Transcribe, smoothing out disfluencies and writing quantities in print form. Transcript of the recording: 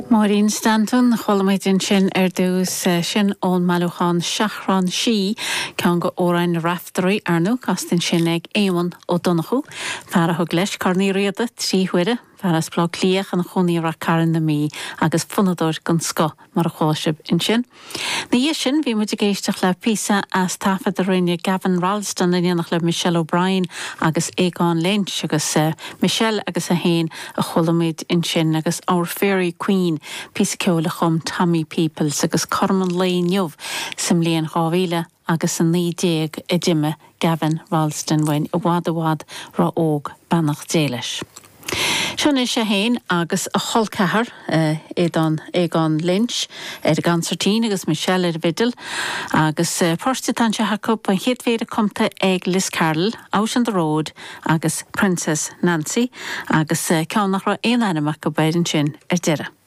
Máirín Stanton, Chuala muid ansin ar dtús, sin ón mbailiúchán Seachrán Sí, ceann de amhráin na Raiftearaí, ar ndóigh, casta ansin ag Éamonn Ó Donnchú, fear a thug leis Corn Uí Riada 3 huaire, fear as Baile Átha Cliath ina chónaí i Rath Cairn na Mí agus fonnadóir den scoth mar a chuala sibh ansin. Ina dhiaidh sin, bhí muid ag éisteacht le píosa as taifead a rinne Gavin Rolleston in éineacht le Michelle O'Brien agus Aogán Lynch agus Michelle agus é féin a chuala muid ansin agus Our Fairy Queen, píosa ceoil a chum Tommy Peoples agus cothrom an lae inniu sa mbliain 2000 agus 19 a d'imigh Gavin Rolleston uainn i bhfad i bhfad ró-óg, beannacht Dé leis. Seo anois é féin agus a chol ceathar, Aodán, Aogán Lynch, ar an gconsairtín agus Michelle ar an bhfidil, agus poirt atá anseo acu, an chéad phéire cumtha ag Liz Carroll, Out on the Road agus Princess Nancy, agus ceann nach raibh aon ainm acu air ansin ar deireadh.